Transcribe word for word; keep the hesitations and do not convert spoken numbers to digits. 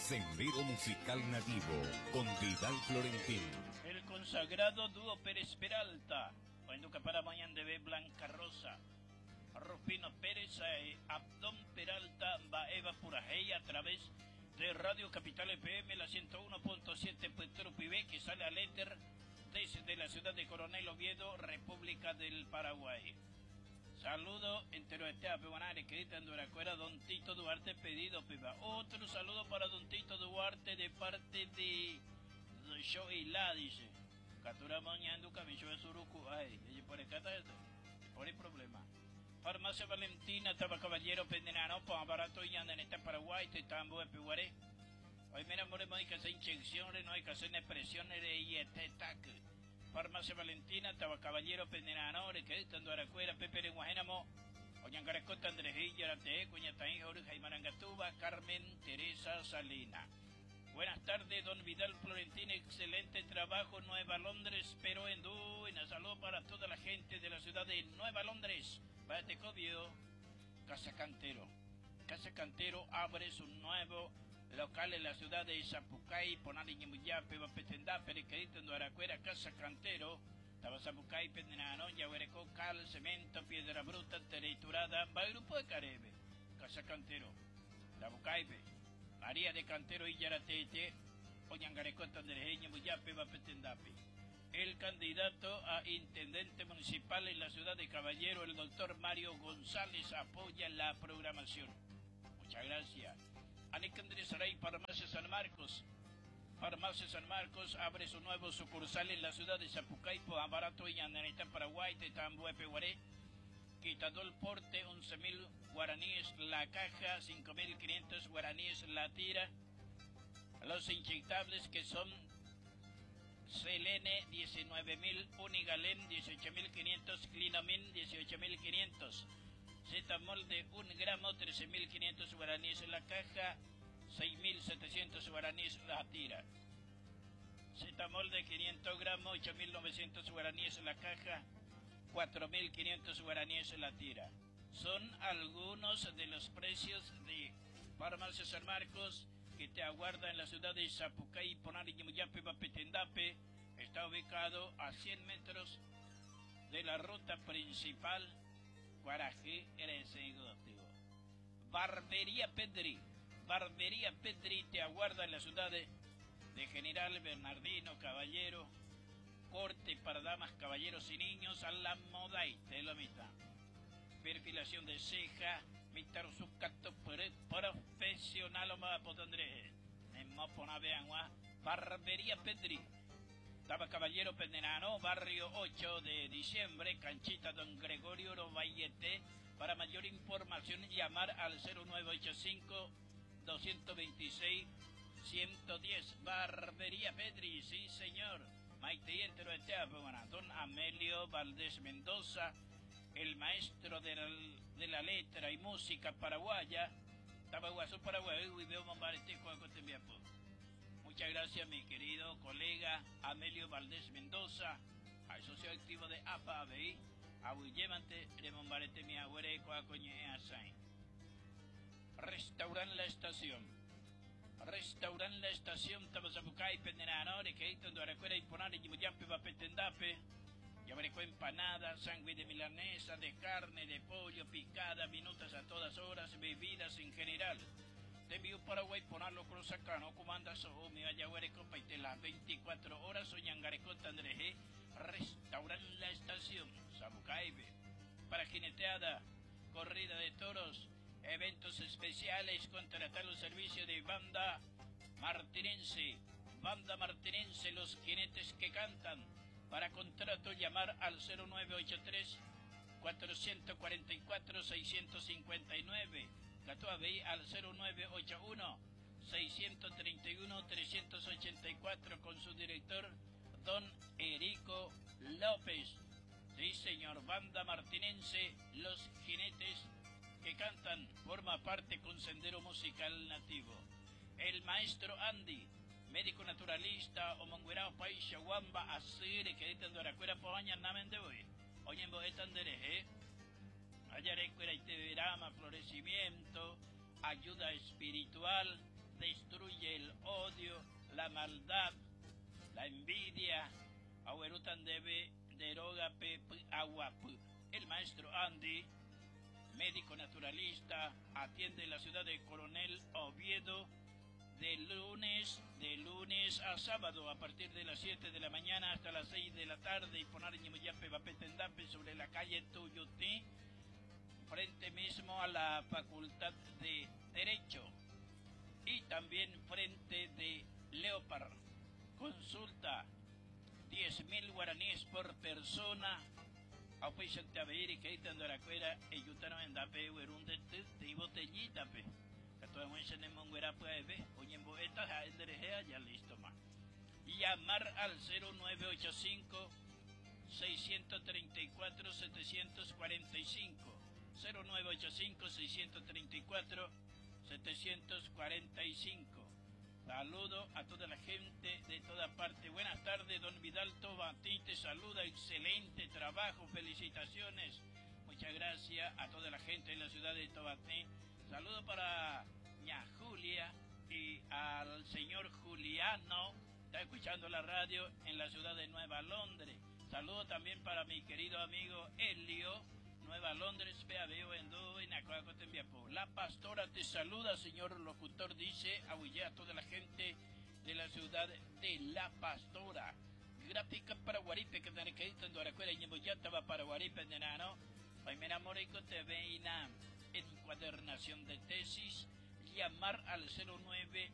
Sendero Musical Nativo con Vidal Florentín. El consagrado dúo Pérez Peralta. Ohenduka para ñandéve Blanca Rosa. Rufino Pérez, eh, Abdón Peralta, Eva Purahéi a través de Radio Capital F M, la ciento uno punto siete Petro Pibe, que sale al éter desde la ciudad de Coronel Oviedo, República del Paraguay. Saludo entero este a que Duracuera, don Tito Duarte, pedido piba. Otro saludo para don Tito Duarte de parte de Yo y la dice. Catura mañana cabello de suruku. Ay, por acá está esto. Por el problema. Farmacia Valentina, Taba Caballero, Pendenano, barato y anda en esta Paraguay, Tetambo, Epiguaré. Hoy me enamoré, no hay que hacer inyecciones, no hay que hacer presiones y este tac. Farmacia Valentina, Taba Caballero, Pendenano, que estando Aracuera, Pepe de Guajénamo, Oñangarecota, Andrejilla, Arate, Cuñataí, Jorge Marangatuba, Carmen Teresa Salina. Buenas tardes, don Vidal Florentín, excelente trabajo, Nueva Londres, pero en un saludo para toda la gente de la ciudad de Nueva Londres. Cobio, Casa Cantero. Casa Cantero abre su nuevo local en la ciudad de Zapucay, Ponali Ñemuyape, Bapetendá, Periquerito, Aracuera, Casa Cantero, Tabazapucay, Pendenano, Yahuereco, cal, cemento, piedra bruta, triturada, va grupo de Caribe, Casa Cantero, Tabucaipe, María de Cantero y Yaratete, Oñangareco, Tanderejeña, Muyape, Bapetendape. El candidato a intendente municipal en la ciudad de Caballero, el doctor Mario González, apoya la programación. Muchas gracias. Alejandro Saray, Farmacia San Marcos. Farmacia San Marcos abre su nuevo sucursal en la ciudad de Zapucay, Barato y Andaneta, Paraguay, Tetambo, Epeguaré. Quitado el porte, once mil guaraníes la caja, cinco mil quinientos guaraníes la tira. Los inyectables que son Selene diecinueve mil, Unigalem dieciocho mil quinientos, Clinamin dieciocho mil quinientos, Cetamol de un gramo trece mil quinientos guaraníes en la caja, seis mil setecientos guaraníes la tira. Cetamol de quinientos gramos, ocho mil novecientos guaraníes en la caja, cuatro mil quinientos guaraníes en la tira. Son algunos de los precios de Farmacia San Marcos que te aguarda en la ciudad de Zapucay, Ponari, Ñimuyape, Bapetendape. Está ubicado a cien metros de la ruta principal Guarají, Barbería Pedri. Barbería Pedri te aguarda en la ciudad de, de General Bernardino Caballero. Corte para damas, caballeros y niños a la moda y te lo mitad. Perfilación de ceja, Mister Sucato profesional o Andrés. Barbería Pedri. Taba Caballero Pendenano, barrio ocho de diciembre, Canchita Don Gregorio Robayete. Para mayor información, llamar al cero nueve ocho cinco doscientos veintiséis ciento diez. Barbería Pedri, sí señor. Maite entero Don Amelio Valdés Mendoza, el maestro de la, de la letra y música paraguaya. Tabaguazú, Paraguay, y veo Muchas gracias, mi querido colega Amelio Valdés Mendoza, al socio activo de A P A B I, Aguyjémante, remombarete mi agüere, Restaurant La Estación. Restaurant La Estación, Tabazabucay, Pendenano, Requeito, Duaracuera, Imponare, Yimuyape, Bapetendape. Yabareco empanada, sándwich de milanesa, de carne, de pollo, picada, minutas a todas horas, bebidas en general. Te Paraguay, ponerlo cruzacano, comanda so, mi ayahuereco, paite las veinticuatro horas, oñangareco, tandreje, Restaurant La Estación, Sabucaibe. Para jineteada, corrida de toros, eventos especiales, contratar los servicios de Banda Martinense. Banda Martinense, los jinetes que cantan. Para contrato llamar al cero nueve ocho tres cuatrocientos cuarenta y cuatro seiscientos cincuenta y nueve. Catuabey al cero nueve ocho uno seiscientos treinta y uno trescientos ochenta y cuatro con su director don Erico López. Sí, señor, Banda Martinense, los jinetes que cantan, forma parte con Sendero Musical Nativo. El maestro Andy, médico naturalista, omonguerao país wamba asire que editan doracuera poaña namen de hoy. Oye en boetan dereje. Ayarecuera y te verama, florecimiento, ayuda espiritual, destruye el La maldad, la envidia, aguerutan debe deroga pe aguapu. El maestro Andy, médico naturalista, atiende en la ciudad de Coronel Oviedo de lunes, de lunes a sábado a partir de las siete de la mañana hasta las seis de la tarde y poner Ñimuyape Bapetendape sobre la calle Tuyutí, frente mismo a la Facultad de Derecho y también frente de Leopard. Consulta diez mil guaraníes por persona. Auspiciante Aveiri, que ahí Andoracuera, Eyutano en Dape, Uerunde, y botellita, pe. Que todo el mundo se nemonguera puede ver, oye, en Boeta, ya, ya listo, ma. Llamar al cero nueve ocho cinco, seiscientos treinta y cuatro, setecientos cuarenta y cinco. cero nueve ocho cinco, seiscientos treinta y cuatro, setecientos cuarenta y cinco. Saludo a toda la gente de toda parte. Buenas tardes, don Vidal Tobatí, te saluda. Excelente trabajo, felicitaciones. Muchas gracias a toda la gente de la ciudad de Tobatí. Saludo para ña Julia y al señor Juliano, está escuchando la radio en la ciudad de Nueva Londres. Saludo también para mi querido amigo Helio, Nueva Londres, P A B O en Do, en Acuaco, Tembiapo. La pastora te saluda, señor locutor, dice, ahuye a toda la gente de la ciudad de La Pastora. Gráfica para Guaripe, que tiene que ir en Duaracuera, y Ñemboyata va para Guaripe, de Nano. Hoy me enamoré con T V I N A. Encuadernación de tesis, llamar al cero nueve